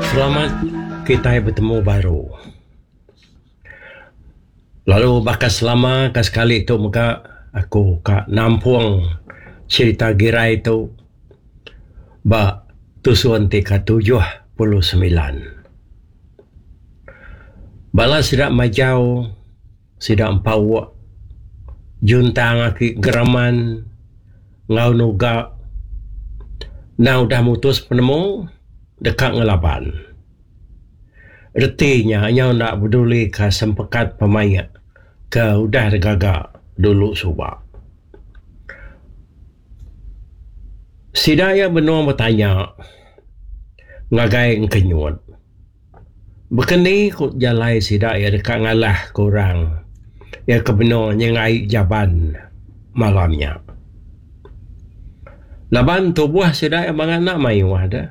Selamat kitai betemu baru. Lalu baka selama ka sekali tu mega aku ka nampung cherita Girai tu ba tusun ti ka 79. Bala sida majau sida empauk juntang aki geraman enggau nuga endang udah mutus penemu deka ngelaban. Reti nya nyau enda bedulika sempekat pemaik ke udah digaga dulu suba. Sida iya benung betanya ngagai Engkenyut. Baka ni ku jalai sida iya deka ngalahka orang iya ke benung nyengai jaban malam nya. Laban tubuh sida iya bangat enda mayuh deh.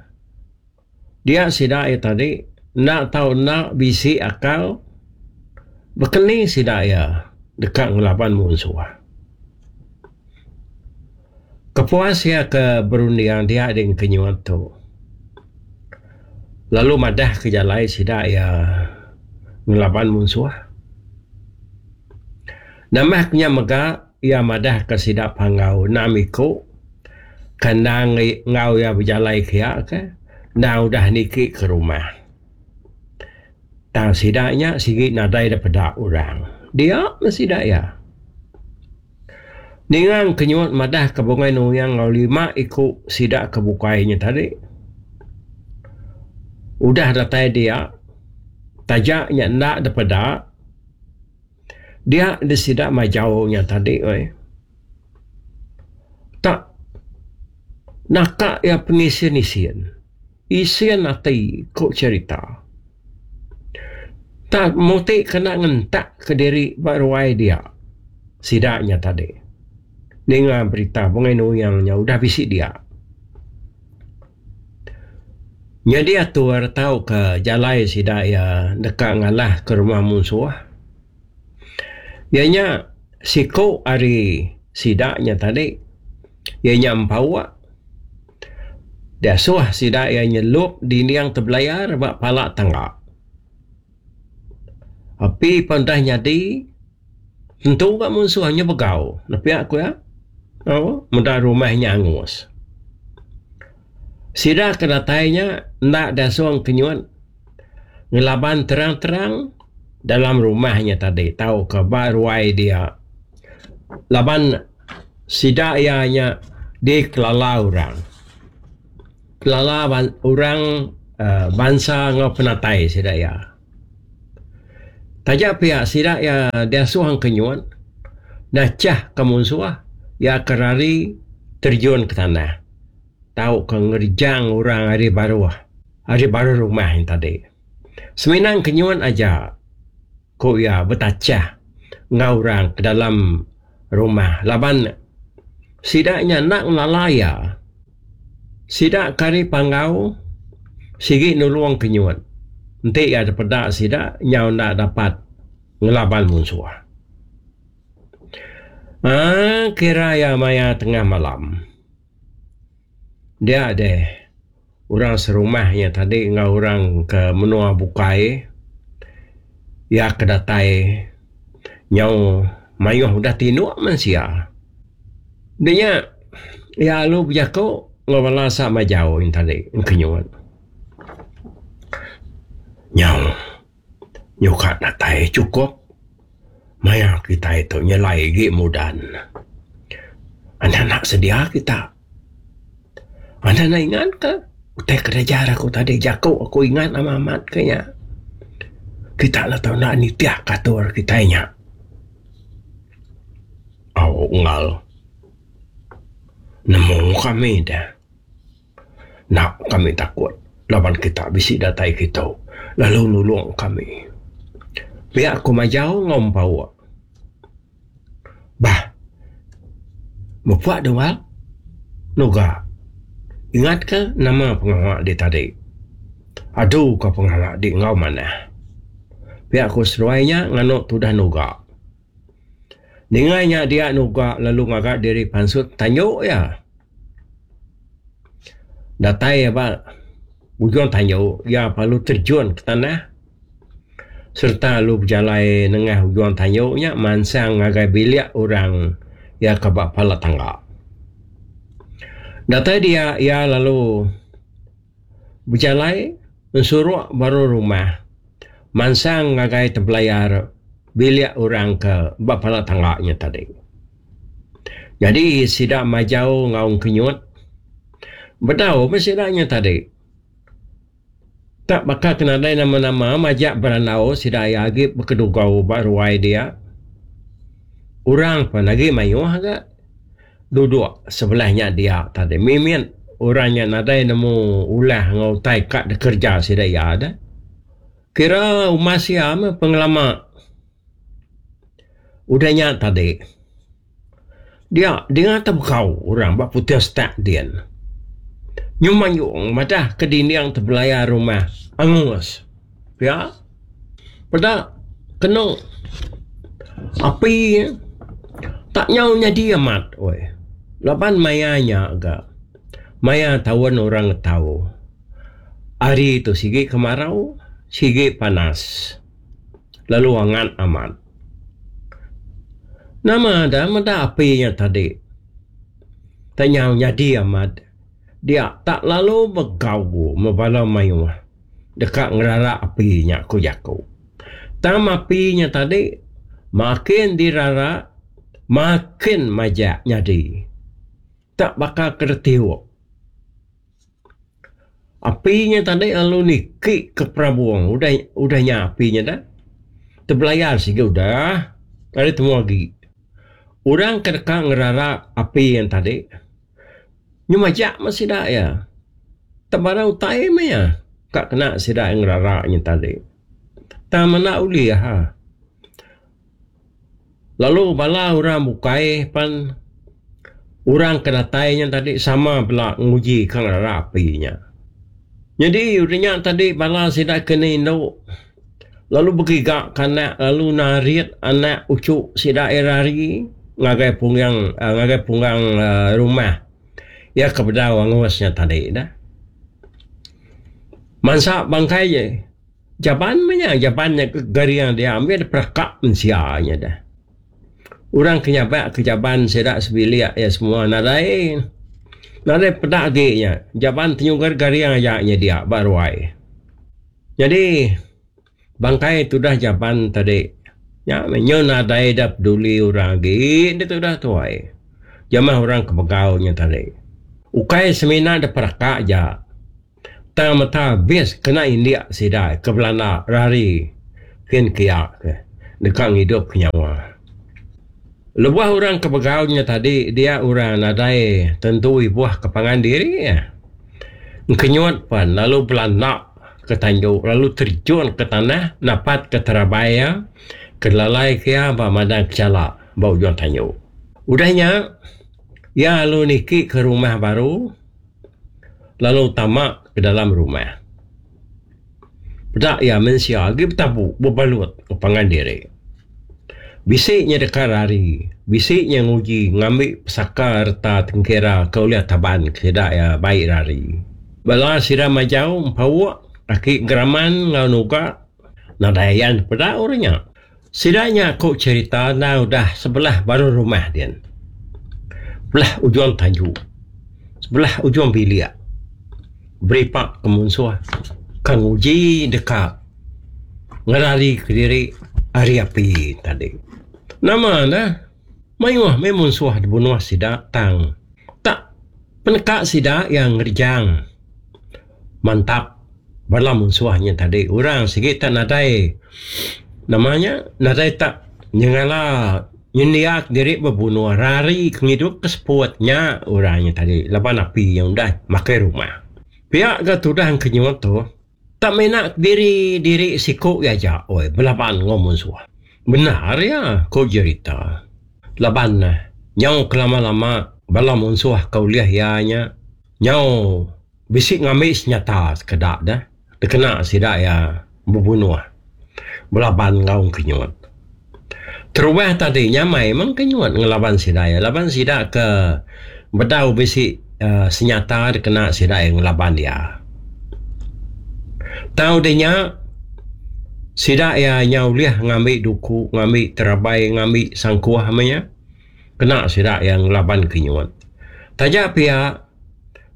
Dia sida iya tadi enda tau enda bisi akal baka ni sida iya deka ngelaban munsuh. Kepuas iya ke berunding dia ding kenyut tu lalu madah ke jalai sida iya ngelaban munsuh. Nambah ke nya mega iya madah ke sida Panggau enam iku ke endang enggau iya bejalai kiya ke endang udah niki ke rumah. Tang sida nya sigi nadai da peda orang. Dia meh sida iya. Ninga Engkenyut madah ke Bungai Nuyang enggau lima iku sida ke bukai nya tadi udah datai dia taja nya enda dipeda dia deh sida majau nya tadi weh. Tak naka iya pengisin-isin. Isin ati ku cherita. Tang muti kena ngentak kediri ba ruai dia sida nya tadi. Ninga berita Bungai Nuyang nya udah bisi dia. Nyadi atur tauka jalai sida iya deka ngalahka rumah munsuh. Iya nya siku ari sida nya tadi iya nya Empauk diasuh sida iya nyelup dinding tebelayar ba pala tangga. Api pun udah nyadi tentu ga munsuh nya begau ne pia ku iya au meda rumah nya angus. Sida ke datai nya enda diasuh kenyut. Ngelaban terang-terang dalam rumah nya tadi tauka ba ruai dia laban sida iya nya dikelala orang. Kelala orang uhh bansa enggau penatai sida iya. Taja pia sida iya diasuh engkenyut nachahka munsuh iya ke rari terjun ke tanah tauka ngerejang orang ari baruh. Ari baruh rumah nya tadi. Semina kenyut aja, ku iya betachah enggau orang ke dalam rumah laban sida nya enda ngelala iya. Sida ke ari Panggau sigi nulung kenyut enti iya dipeda sida nyau enda dapat ngelaban munsuh. Aaa kira iya maya tengah malam. Dia deh orang serumah nya tadi enggau orang ke menua bukai iya ke datai nyau mayuh udah tinduk mensia. Nya nya iya lalu bejaku enggau bala sa majau nya tadi engkenyut. Nyau nyuka datai chukup maya kitai tu nyelai agi mudan. Anak-anak sedia kita. Anda enda ingat ka utai ke diajar aku tadi jaku aku ingat amat amat ke nya. Kita enda tau enda nitih ka atur kitai nya. Au unggal nemu kami deh. Enda kami takut laban kita bisi datai kitu lalu nulung kami. Pia ku majau enggau empauk. Bah. Mepa dua nuga. Ingatka nama pengawa di tadi. Adu ka pengawa di enggau manah. Pia ku seduai nya nganu tudah nuga. Ninga nya dia nuga lalu ngaga diri pansut tanju iya. Datai iya ba. Ujung tanju iya lalu terjun ke tanah sereta lalu bejalai nengah ujung tanju nya mansang ngagai bilik orang iya ke ba pala tangga. Datai dia iya lalu bejalai ensuruk baru rumah mansang ngagai tebelayar bilik orang ke ba pala tangga nya tadi. Nyadi sida majau enggau engkenyut bedau meh sida nya tadi. Tak baka ke nadai nama-nama majak berandau sida iya agi bekedugau ba ruai dia. Orang pun agi mayuh ga duduk sebelah nya dia tadi. Mimit orang nya nadai nemu ulah enggau utai ka dikereja sida iya deh. Kira umas iya meh pengelama. Udah nya tadi, dia dinga tebekau orang ba putih setak din. Nyu mayung madah ke dinding tebelayar rumah angus. Pia peda kenu api tak nyau nyadi amat oi. Laban maya nya ga maya taun orang ngetau. Hari tu sigi kemarau sigi panas. Lalu angat amat. Nama da meda api nya tadi. Tak nyau nyadi amat. Dia tak lalu begau meh bala mayuh deka ngerara api nya ku jaku. Tang api nya tadi makin dirara makin majak nyadi. Tak baka ke ditiup. Api nya tadi lalu niki ke perabung udah udah nya api nya dah tebelayar sigi udah ari temu agi. Orang ke deka ngerara api nya tadi nyu majak meh sida iya. Tebara utai meh iya ka kena sida ngerara nya tadi. Tang menda ulih ha. Lalu bala orang bukai pan orang ke datai nya tadi sama bela nguji ka ngerara api nya. Nyadi udah nya tadi bala sida ke enda indu lalu begiga ka anak lalu narit anak uchu sida ira hari ngagai punggang ngagai punggang rumah iya ke bedau angus nya tadi dah. Mansa bangkai je. Jaban meh nya, jaban nya ke garing dia ambi dep reka mensia nya deh. Orang ke nyabak ke jaban sida sebilik iya semua nadai nadai peda agi nya. Jaban tenyugar garing aja nya dia ba ruai. Nyadi bangkai tudah jaban tadi nya meh nyu nadai da peduli orang agi deh tudah tuai. Jamah orang ke begau nya tadi. Ukai semina dep reka aja. Tang meta abis kena indik sida ke belanda rari kin kia ke deka ngidup ke nyawa. Lebuh orang ke begau nya tadi dia orang nadai tentu ibuh ke pangan diri iya. Engkenyut pan lalu belanda ke tanju lalu terjun ke tanah napat ke terabai iya ke lalai ke iya ba madang kechala ba ujung tanju. Udah nya iya lalu niki ke rumah baru. lalu tama ke dalam rumah. Peda iya mensia agi betabu bebalut enggau pangan diri. Bisi nya deka rari, bisi nya nguji ngambi pesaka reta tengkira ke ulih taban ke sida iya bai rari. Bala sida majau empauk aki geraman enggau nuga nadai ayan peda orang nya. Sida nya ku cherita endang udah sebelah baruh rumah din. Belah ujung tanju, sebelah ujung bilik beripa ke munsuh ke nguji deka ngerari kediri ari api tadi. Nama ne mayuh meh munsuh dibunuh sida tang tak peneka sida iya ngerejang. Mantap bala munsuh nya tadi orang sigi tak nadai nama nya nadai tak nyengala nyendia diri bebunuh rari ke ngidup ke seput nya orang nya tadi laban api nya udah makai rumah. Pia ga tudah engkenyut tu tak mina diri diri siku iya aja oi belaban enggau munsuh. Bendar iya ku jerita laban nyau kelama lama bala munsuh ke ulih iya nya nyau Bisi ngambi senyata sekeda deh dikena sida iya bebunuh belaban enggau engkenyut. Terubah tadi nyamai meh engkenyut ngelaban sida iya laban sida ke bedau bisi uhh senyata dikena sida iya ngelaban iya. Tang udah nya sida iya nyau ulih ngambi duku, ngambi terabai, ngambi sangkuh meh nya kena sida iya ngelaban Kenyut. Taja pia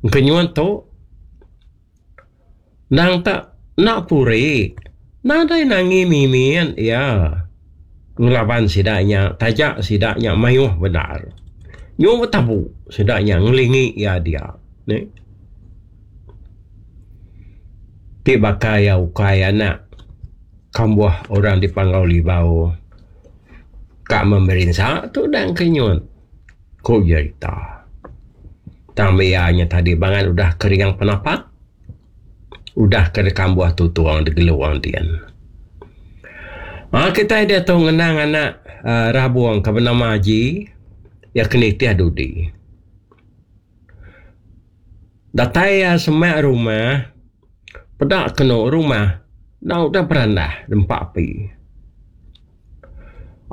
Kenyut tu endang tak enda puri nadai nangi mimit iya ngelaban sida nya taja sida nya mayuh bendar. Nyu betabu sida nya ngelingi iya dia. Ti baka iya ukai anak kambuh orang di Panggau Libau ka memerinsa tu dang ke nyut, ku jerita. Tang iya nya tadi bangat udah kering penapat udah ke dikambuh tutung digelung din. Aa kitai diatu ngenang anak aaa Rabung ke benama Aji iya ke nitih dudi. Datai iya semak rumah, peda kenu rumah enda udah berandah nempa api.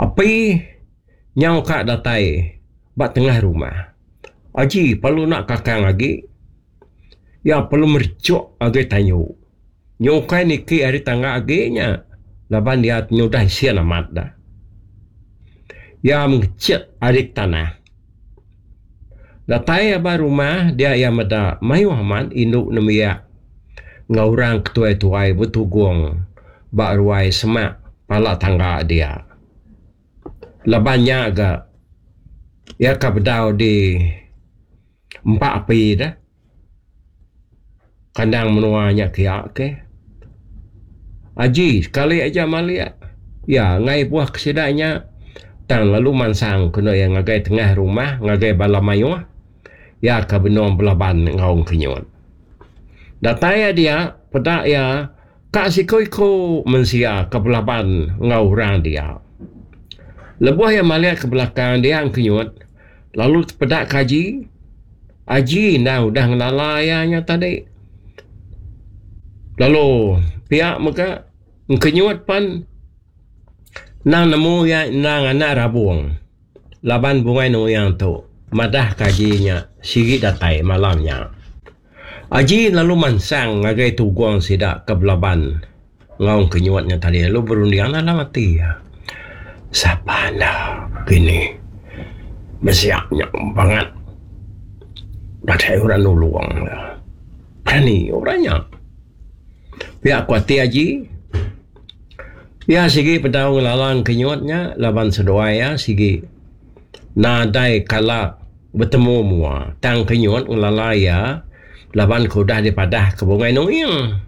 Api nyau ka datai ba tengah rumah. Aji perlu enda kakang agi, iya perlu merejok agi tanyu. Nyu ukai niki ari tangga agi nya laban iya nyudah isin amat dah. Iya mengechet ari tanah. Datai iya ba rumah dia iya meda mayuh amat indu nembiak enggau orang ke tuai-tuai betugung ba ruai semak pala tangga dia. Laban nya ga iya ka bedau di empa api deh. Kandang menua nya kia ke. Aji sekali aja malik iya enggai buah ke sida nya tang lalu mansang kenu iya ngagai tengah rumah ngagai bala mayuh iya ke benung belaban enggau engkenyut. Datai iya dia peda iya ka siku-iku mensia ke belaban enggau orang dia. Lebuh iya malik ke belakang dia engkenyut lalu tepeda ke Aji. Aji endang udah ngelala iya nya tadi. Lalu pia mega engkenyut pan endang nemu iya endang anak rabung laban Bungai Nuyang tu madah ke Aji nya sigi datai malam nya. Aji lalu mansang ngagai tugung sida ke belaban enggau engkenyut nya tadi lalu berunding dalam ati iya. Sapa enda kini besiak nya bangat nadai orang nulung iya. Berani orang nya. Pia ku ati Aji. Iya sigi pedau ngelala engkenyut nya laban seduai iya sigi nadai kala betemu mua tang kenyut ngelala iya laban ke udah dipadah ke Bungai Nuing.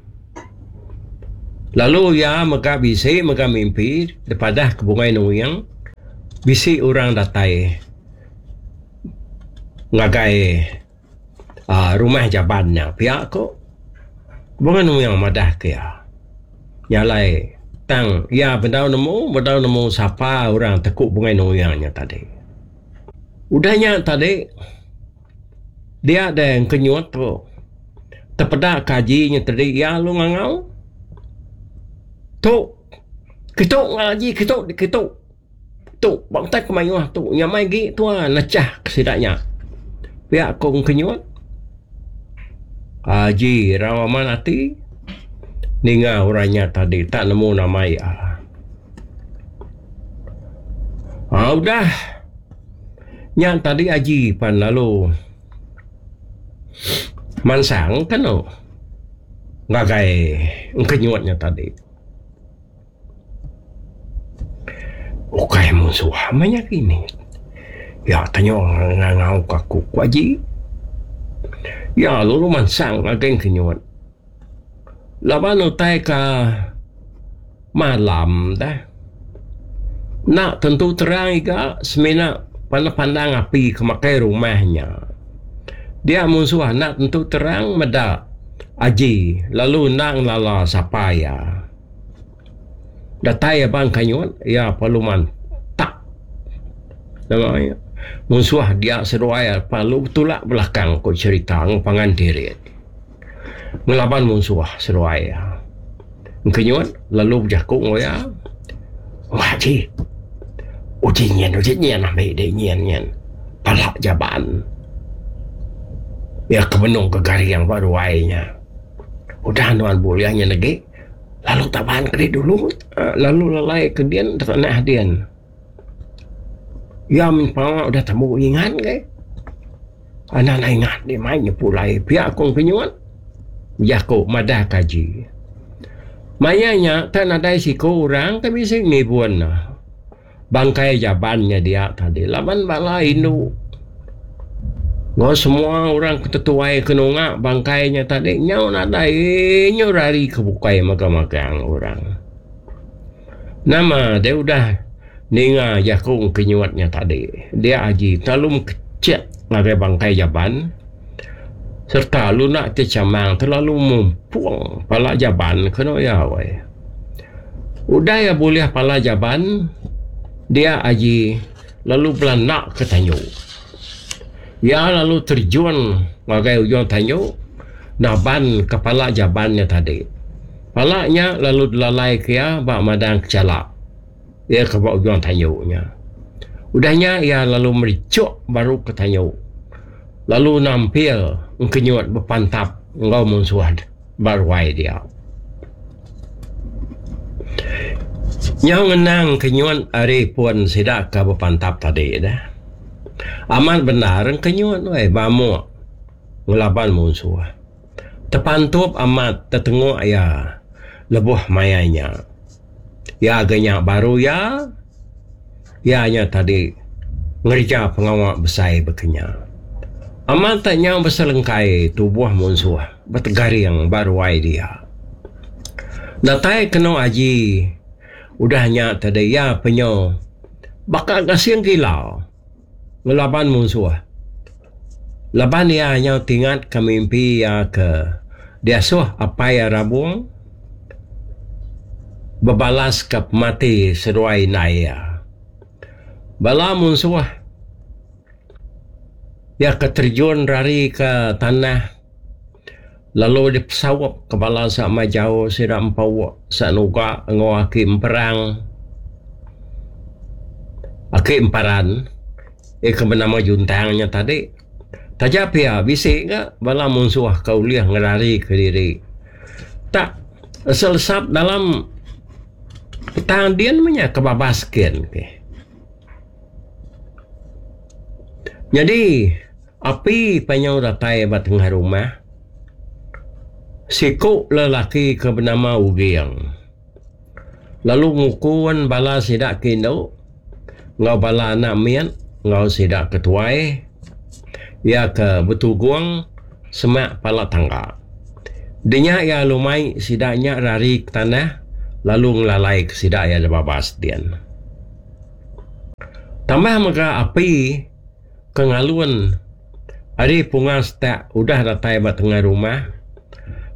Lalu iya mega bisi mega mimpi dipadah ke Bungai Nuing bisi orang datai ngagai aaa rumah jaban nya pia ko Bungai Nuing madah ke iya. Nya alai tang iya bedau nemu bedau nemu sapa orang teku Bungai Nuing nya tadi. Udah nya tadi dia deh engkenyut tu tepeda ke aji nya tadi iya lalu ngangau tu kitu ngaji kitu kitu tu ba utai ke mayuh tu nyamai agi tuan nechah ke sida nya. Pia ku engkenyut aji rau amat ati ninga orang nya tadi tak nemu nama iya. Aa udah nya tadi aji pan lalu mansang kenu ngagai engkenyut nya tadi. Ukai munsuh meh nya kini. Iya tanya ngangau ka aku ku aji. Iya lalu mansang ngagai engkenyut. Laban utai ka malam deh enda tentu terang iga semina pandang-pandang api ke makai rumah nya. Dia munsuh enda tentu terang meda aji lalu enda ngelala sapa iya. Datai abang Kanyut iya perlu mantak nama iya munsuh dia seduai perlu betulak belakang ku cherita enggau pangan diri. Ngelaban munsuh seduai iya. Engkenyut lalu bejaku enggau iya, Wah ji, uji nyin uji nyin ambi dek nyin nyin pala jaban. Iya ke benung ke garing ba ruai nya. Udah nuan bulih nyin agi. Lalu taban ke diri dulu lalu lalai ke din tanah din. Iya mih pengawa udah tembu ngingat ke. Anak anak ingat dih mai nya pulai pia ku Engkenyut bejaku madah ke aji. Maya nya tak nadai siku orang ke bisi ngibun ne. Bangkai jaban nya dia tadi laban bala indu enggau semua orang ke tetuai ke nunga bangkai nya tadi nyau nadai nyau rari ke bukai magang-magang orang. Nama deh udah ninga jaku Engkenyut nya tadi, dia aji terlalu mekecek ngagai bangkai jaban sereta luna ti chamang terlalu mumpung pala jaban kenu iya weh. Udah iya bulih pala jaban, dia aji lalu belanda ke tanju. Iya lalu terjun ngagai ujung tanju naban ke pala jaban nya tadi. Pala nya lalu dilalai ke iya ba madang kechala iya ke ba ujung tanju nya. Udah nya iya lalu merichuk baru ke tanju lalu nampil engkenyut bepantap enggau munsuh ba ruai dia. Nyau ngenang kenyut ari pun sida ke bepantap tadi deh. Amat bendar engkenyut weh bamuk ngelaban munsuh. Tepantup amat tetenguk iya lebuh maya nya. Iya ga nya baru iya, iya nya tadi ngereja pengawa besai baka nya. Amat tak nyau beselengkai tubuh munsuh betegaring ba ruai dia. Datai kenu aji udah nya tadi iya penyo baka gasing gila. Ngelaban munsuh. Laban iya nyau tingatka mimpi iya ke diasuh apai iya Rabung bebalaska pemati seduai indai iya. Bala munsuh iya ke terjun rari ke tanah lalu dipesaup ke bala sama jauh sida empu Sanuga enggau aki Emperang. Aki Emparan iya ke benama Juntang nya tadi. Taja pia bisi ga bala munsuh ke ulih ngerarika diri. Tak lesap-lesap dalam petang din meh nya ke babas kin ke. Nyadi api panjau datai ba tengah rumah siku lelaki ke benama Uging. Lalu ngukun bala sida ke indu enggau bala anak mit enggau sida ke tuai iya ke betugung semak pala tangga. Dinya iya lalu mai sida nya rari ke tanah lalu ngelalai ke sida iya da babas din. Tambah mega api ke ngalun ari punga setak udah datai ba tengah rumah.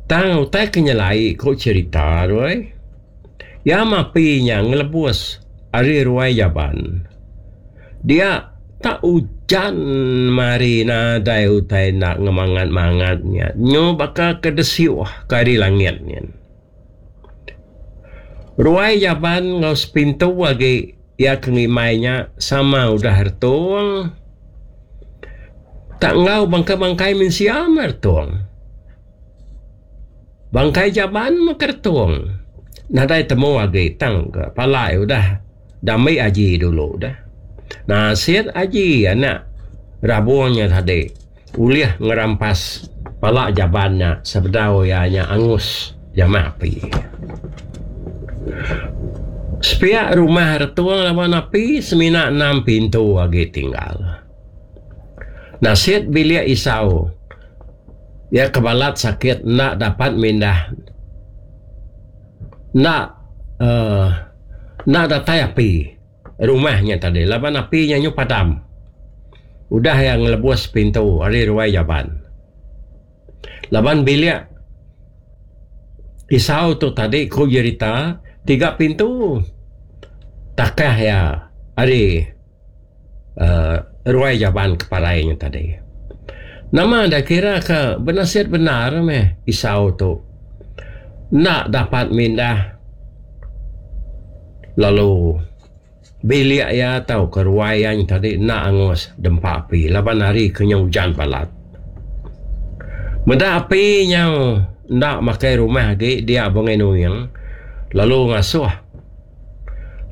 Tang utai ke nyelai ku cherita tu ai. Iya mapi nya ngelebus ari ruai jaban. Dia tak ujan mari nadai utai enda ngemangat-mangat nya nyu baka ke desiuh ke ari langit nyin. Ruai jaban enggau sepintu agi iya ke ngimbai nya sama udah retung. Tak enggau bangkai-bangkai mensia meh retung. Bangkai jaban meh ke retung. Nadai temu agi tang ke palai udah dambi aji dulu deh. Nasit aji anak rabung nya tadi ulih ngerampas pala jaban nya sebedau iya nya angus jamah api. Sepiak rumah retung laban api semina enam pintu agi tinggal. Nasit bilik Isau iya ke balat sakit enda dapat mindah enda uhh enda datai api rumah nya tadi laban api nya nyu padam udah iya ngelebus pintu ari ruai jaban. Laban bilik Isau tu tadi ku jerita tiga pintu takah iya ari. uhh ruai jaban ke parai nya tadi. Nama da kira ke benasit bendar meh Isau tu enda dapat mindah lalu bilik iya tauka ruai iya nya tadi enda angus dempa api laban hari ke nyau ujan balat. Meda api nyau enda makai rumah agi dia Bungai Nuing. lalu ngasuh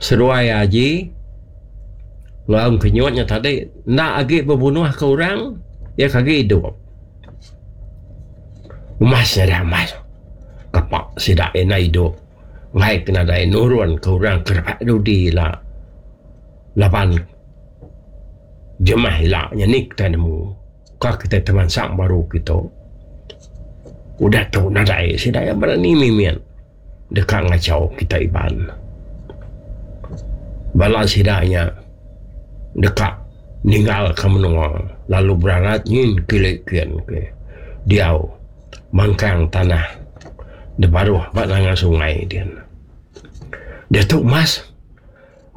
seduai aji enggau engkenyut nya tadi enda agi bebunuhka orang iya ke agi idup. Umas nya deh umas kapa sida enda idup enggai ke nadai nurun ke orang ke rebak dudi ila laban jemah ila nya ni kitai nemu. Ka kitai temansang baru kitu. Udah tu nadai sida iya berani mimit deka ngachau kitai Iban. Bala sida nya deka ninggalka menua lalu berarat nyin kili kin ke diau mangkang tanah da baruh ba nanga sungai din. Diatu mas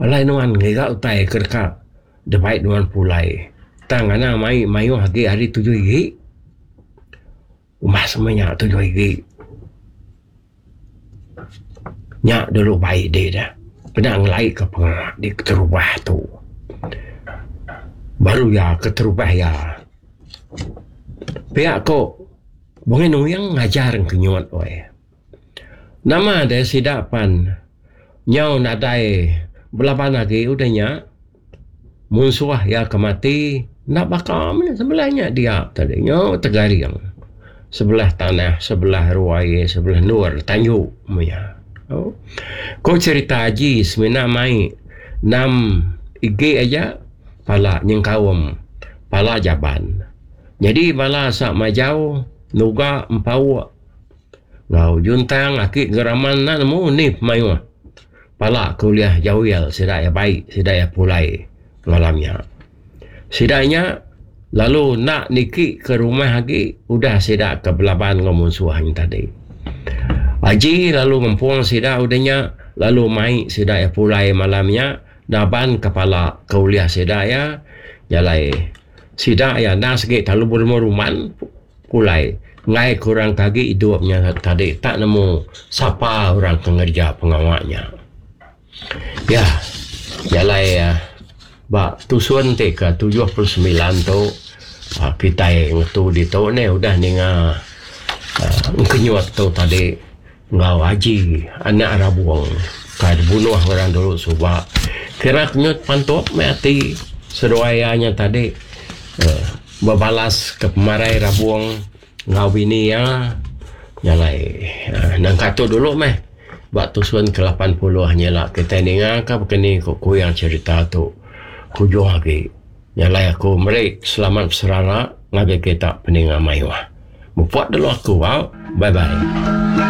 alai nuan ngiga utai ke deka. Debai nuan pulai. Tang anang mai mayuh agi ari tujuh igi. Umbas meh nya tujuh igi. Nya dulu bai dih dah. Kena ngelai ka pengawa di keterubah tu. Baru iya keterubah iya. Pia ko Bungai Nuing ngajar Engkenyut weh. Nama deh sida pan nyau nadai belaban agi udah nya munsuh iya ke mati enda baka meh sebelah nya dia tadi nyau tegaring sebelah tanah sebelah ruai sebelah endur tanju meh iya. Ko cherita aji semina mai enam igi aja pala nyengkaum pala jaban. Nyadi bala asa majau nuga empauk. Enggau juntang aki geraman enda nemu ni pemayuh pala ke ulih jawil sida iya bai sida iya pulai malam nya. Sida nya lalu enda niki ke rumah agi udah sida ke belaban enggau munsuh nya tadi. Aji lalu ngempung sida udah nya lalu mai sida iya pulai malam nya naban ke pala ke ulih sida iya jalai sida iya enda segi terlalu berumban-rumban. Pulai, enggai ke orang ke agi idup nya tadi tak nemu sapa orang ke ngereja pengawa nya. Ya, jalai ba tusun ti ke 79 tu aaa kitai ngetu ditu neh udah ninga aaa engkenyut tu tadi enggau Haji anak Rabong ka dibunuh orang dulu suba. Kira kenyut pantup meh ati seduai iya nya tadi aaa. Bebalas ke pemarai Rabong enggau bini iya nyalai nangka tu dulu meh ba tusun ke 80 nyila kitai ninga ka bekeni ku kuing cherita tu kujung agi nyalai aku meri selamat beserara ngagai kita peninga mayuh. Mupuk dulu aku au. Bye bye.